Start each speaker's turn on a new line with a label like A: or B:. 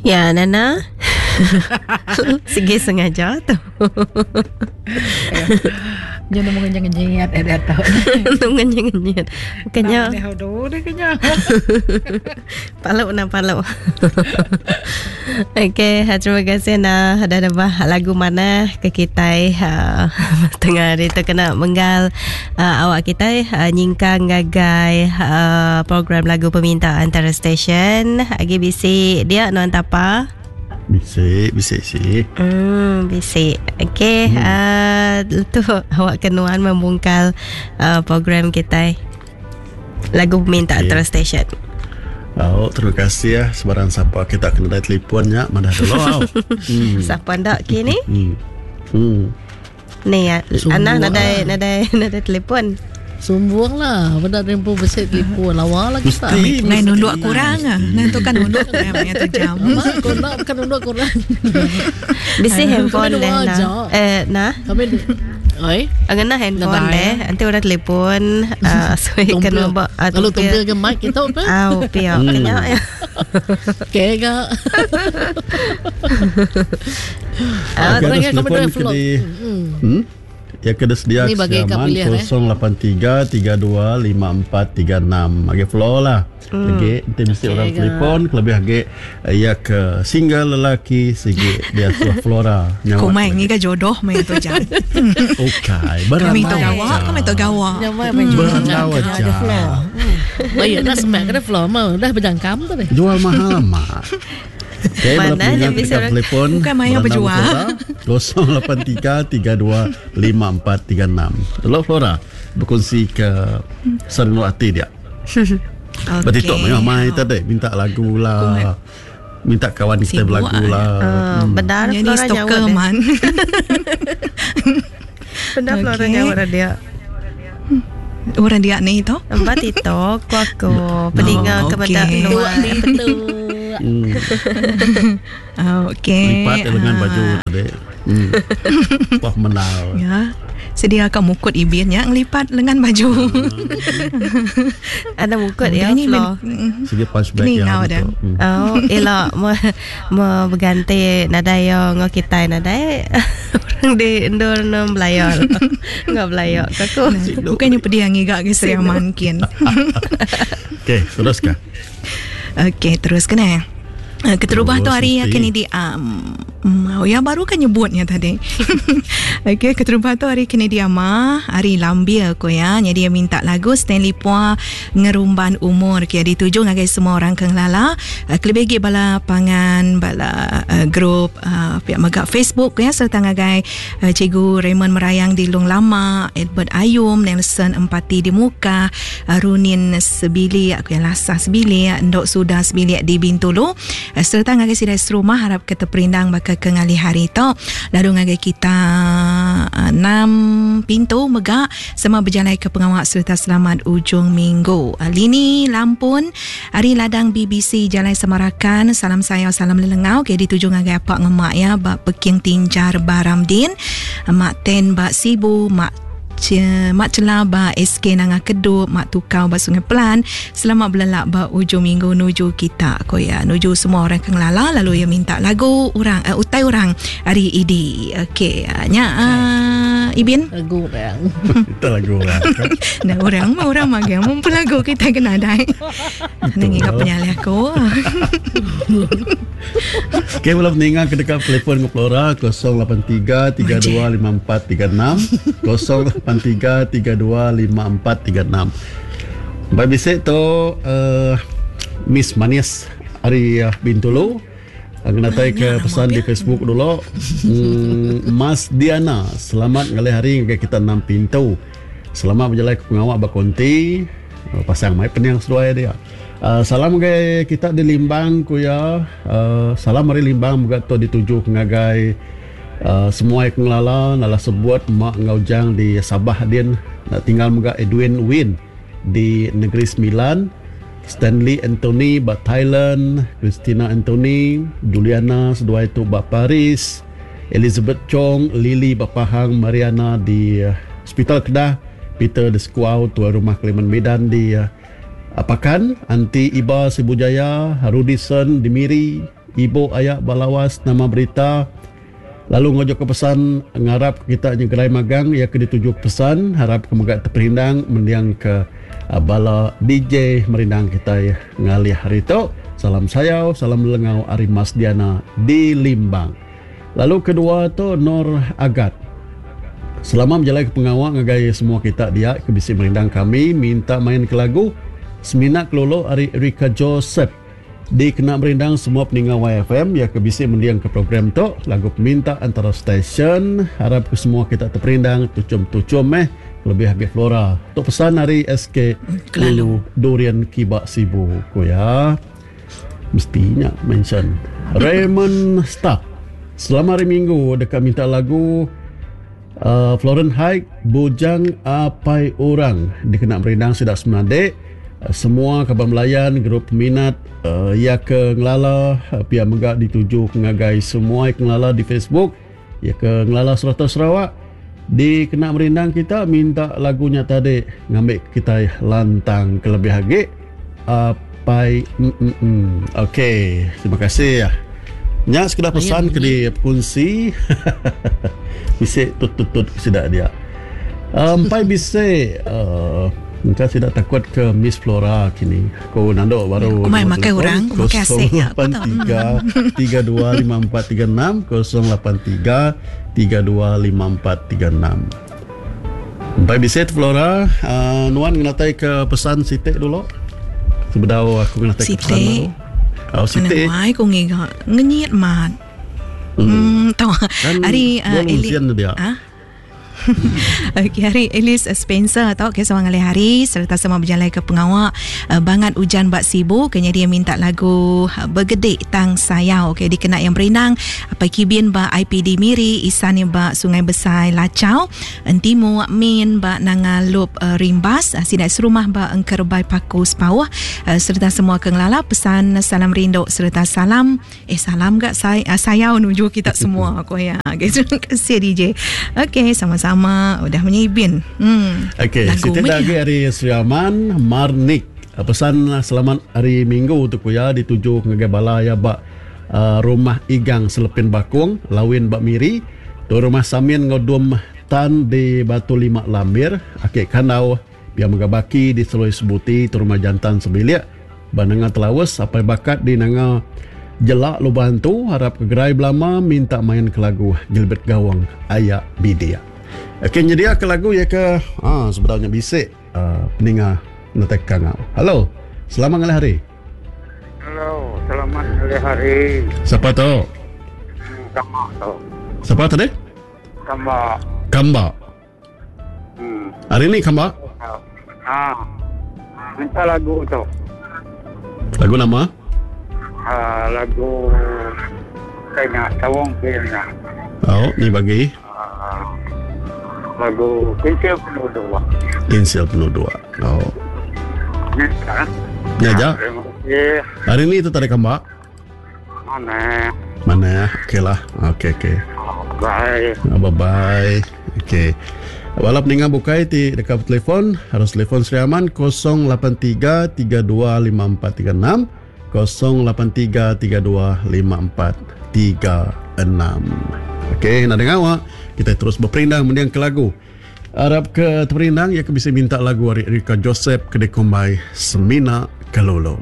A: Ya Nana. Sigi sengaja tu.
B: Nya nemu ngenyit eh diatu.
A: Nemu ngenyit. Kenya. Palu na palu. Okey, terima kasih na dah nebah lagu manah ke kitai uh, tengah hari tu kena menggal uh, awak kitai uh, nyingkang ngagai uh, program lagu peminta antara stesen. Agi bisi dia nuan tapa.
C: Bisi, bisi si.
A: Hmm, bisi. Okey, hmm. uh, tu awak ke nuan membungkal uh, program kitai. Lagu peminta okay. antara stesen.
C: Oh, terima kasih ya sebarang siapa kita kena dari telefon nya madah dulu.
A: hmm. Siapa ndak kini? Hmm. Hmm. Ni ya, anak nadai nadai nadai telefon.
D: Sumbung lah Benda tempoh besi telefon Lawa lah kita
E: Mesti Nai nunduk kurang ah. Nai tu kan nunduk kurang Maya tu jam
D: Mak kau nak bukan nunduk kurang
A: Bisi handphone deh nah. Eh nah
D: Kami Oi.
A: Ngena handphone deh. Nanti orang telefon uh, so
D: kena ba uh, Lalu tumpil ke mic kita apa?
A: Au pia hmm. kena ya.
D: Okey ga.
C: Ah, telefon ke di. Hmm. Ya kena sedia
D: Ni bagi
C: kesiaman
D: kau pilih, eh.
C: 083 32 54 36. Agi flow lah. Hmm. Lagi nanti mesti
D: Okey
C: orang
D: ga.
C: telefon kelebih agi ya ke single lelaki sigi dia suah Flora. Nyawa
E: Kumai
C: lagi.
E: ngiga jodoh maya tu jam.
C: Okey,
E: Kami
C: beramai.
E: tu gawa, kami tu gawa.
D: Nyamai main jual.
C: Berandau aja.
D: Baik dah semak kena floor mah dah berjangkam tu deh.
C: Jual mahal amat. Okey,
A: Mana
C: bala
A: yang
C: pendengar
A: bisa
C: dekat
A: orang-
C: telefon
E: Bukan maya
C: berandau
E: berjual.
C: Flora, 083 32 54 36. Hello Flora, berkongsi ke serenuk hati dia.
E: Okey.
C: Berarti tok mayuh mai tadi minta lagu lah. Minta kawan kita
E: Sibuk
C: berlagu lah.
A: Uh, benar
E: Jadi
A: Flora nyawa
E: stalker
A: deh.
E: man.
A: Benar Flora
E: Okey.
A: nyawa dah dia.
E: Orang dia ni tu.
A: Empat itu aku aku peninga
E: Oh,
A: kepada
E: okey.
A: nuan.
D: Betul.
C: Hmm.
E: Okey.
C: Lipat lengan
E: Ah.
C: baju tadi. Hmm. Wah menal.
E: Ya. Sedia kau mukut ibin ya ngelipat lengan baju.
A: Ada mukut ya
E: Ni
A: Flo.
C: Sigi punch bag
E: Ni
C: yang
E: ngau
C: gitu.
E: dah.
C: Hmm.
A: Oh, elok mo mo berganti nadai yo ngo kita nadai orang di endur nom belayar. Ngo belayar aku.
E: Bukannya pedih ngiga ke Seriaman kin.
C: Okey, teruskan.
E: Okey, terus kena. Keterubah tu
C: Terus,
E: hari
C: mesti.
E: kini di oh, ya baru kan nyebutnya tadi. Okey, keterubah tu hari kini dia mah, hari lambia ko ya. Jadi dia minta lagu Stanley Pua Ngerumban Umur ke dituju ngagai semua orang ke ngelala. Kelebih lagi bala pangan bala uh, grup uh, pihak megak Facebook ya serta ngagai uh, Cikgu Raymond Merayang di Long Lama, Edward Ayum, Nelson Empati di Muka, uh, Runin Sebilik, aku yang lasah sebilik, Ndok Sudah sebilik di Bintulu. Serta ngagai sidai serumah harap kita perindang bakal ke ngali hari tu. Lalu ngagai kita enam pintu megak semua berjalan ke pengawal serta selamat ujung minggu. Lini Lampun, Hari Ladang BBC Jalan Semarakan, salam saya salam lelengau ke dituju ngagai apak ngemak ya bak Peking Tinjar Baramdin, Mak Ten bak Sibu, Mak Mak Celah ba SK Nanga Kedup, Mak Tukau ba Sungai Pelan. Selamat berlelak ba ujung minggu nuju kita ko ya. Nuju semua orang ke ngelala lalu ya minta lagu orang uh, utai orang hari idi. Okey, uh, nya uh, Ibin.
D: Lagu orang.
C: Itu lagu lah.
E: Nah, orang mah orang mah mun lagu kita kena dai. Nang ingat penyalih aku.
C: Okey, belum meninggal ke dekat telefon ke Flora 083 32 54 36 083 32 54 36. Baik bisik tu uh, Miss Manis hari uh, Bintulu. Kena tai ke pesan di Facebook dulu. Mas Diana, selamat ngalih hari ke kita enam pintu. Selamat berjalan ke pengawak bakonti. Pasang mai penyang seduai dia. Salam ke kita di Limbang kuya. Salam hari Limbang juga tu dituju ngagai semua yang ngelala nala sebut mak ngaujang di Sabah din nak tinggal juga Edwin Win di Negeri Sembilan. Stanley Anthony ba Thailand, Christina Anthony, Juliana seduai tu ba Paris, Elizabeth Chong, Lily ba Pahang, Mariana di Hospital Kedah, Peter de Squaw tuan rumah Kalimantan Medan di Pakan, Anti Iba Sibujaya, Rudison di Miri, Ibu aya ba Lawas nama berita lalu ngujok ke pesan ngarap ke kita nyegerai magang iya ke dituju ke pesan harap ke mega teperindang mending ke bala DJ merindang kitai ngalih hari tu. Salam sayau salam lelengau ari Mas Diana di Limbang. Lalu kedua tu Nor Agat. Selama bejalai ke pengawa ngagai semua kita dia ke bisi merindang kami minta main ke lagu Semina Kelulu ari Erica Joseph. Dikena merindang semua peninga YFM iya ke bisi mendingka program tu, lagu peminta antara stesen. Arap ke semua kita teperindang tuchum-tuchum meh kelebih agi Flora. Tu pesan ari SK Ulu Durian Kiba Sibu, ku iya. Mesti nya mention. Raymond Stark. Selamat hari Minggu deka minta lagu uh, Florence Haik Bujang Apai Orang dikena merindang sida semenadik uh, semua kaban belayan grup peminat uh, iya ke ngelala uh, pia mega dituju ngagai semua ke ngelala di Facebook iya ke ngelala serata Sarawak dikena merindang kita minta lagu nya tadi ngambi kitai lantang kelebih agi apai mm, mm, mm. Okey, terima kasih. Nya sekeda pesan ke dikunsi. Bisi tut-tut-tut sida dia. Empai bisi uh, engka sida takut ke Miss Flora kini. Aku nanduk baru.
E: Kumai makai orang, ku makai asik ya.
C: 03 325436 083 325436. Empai bisi Flora, uh, nuan ngenatai ke pesan siti dulu. Sebedau aku ngenatai ke pesan baru.
E: Oh, siti. Mana ku ngiga ngenyit mat. Hmm, tahu.
C: Kan
E: Ari
C: uh,
E: Eli.
C: Dia.
E: Ha? Okey, hari Alice Spencer tau ke sama ngalih hari serta sama berjalai ke pengawa uh, bangat ujan bak Sibu kenya dia minta lagu uh, Bergedik Tang Sayau okey dikena yang berindang Apai Kibin ba IPD Miri Isan yang ba Sungai Besai Lachau Entimu Min ba Nanga Lup uh, Rimbas uh, Sidak Serumah ba Engkerbai Paku Sepauh uh, serta semua ke ngelala pesan salam rindu serta salam Eh salam gak say, uh, sayau nuju kita semua aku ya. Okay, terima kasih DJ. Okey, sama-sama udah menyibin.
C: Okey, siti lagi hari Sri Aman Marnik. Pesan selamat hari Minggu tu ku ya dituju ngagai bala ya ba uh, rumah Igang Selepin Bakung, Lawin ba Miri, tu rumah Samin enggau Dum Tan di Batu Lima Lambir, Ake Kandau Pia mega baki di Seloi Sebuti tu rumah jantan sebilik ba Nanga Telaus apai bakat di Nanga Jelak Lubah Antu arap ke gerai belama minta main ke lagu Gilbert Gawang Aya Bidik. Okey nyedia ke lagu iya ke ha sebedau nya bisi uh, peninga netek kangau. Hello. Selamat ngalih hari.
F: Hello, selamat ngalih hari.
C: Siapa tu?
F: Kamba tu.
C: Siapa tadi?
F: Kamba.
C: Kamba. Hari ni kamba?
F: Ha. Minta lagu tu.
C: Lagu nama?
F: Ha, lagu kena tawong kena.
C: Oh, ni bagi.
F: Ha, lagu Kinsil Penuh Dua.
C: Kinsil Penuh Dua. Oh.
F: Ni kan?
C: Ni aja.
F: Terima kasih.
C: Hari ni tu tarik kamba?
F: Mana?
C: Mana? Okey lah. Okey, okey.
F: Bye.
C: Bye-bye. Okey. Wala peninga bukai ti dekat telefon, harus telefon Sri Aman 083 325436 083 325436. Okey, nak dengar awak? Kita terus berperindang mendiang ke lagu. Arab ke terperindang, ia ke bisa minta lagu ari Erika Joseph ke dikumbai Semina Kelolo.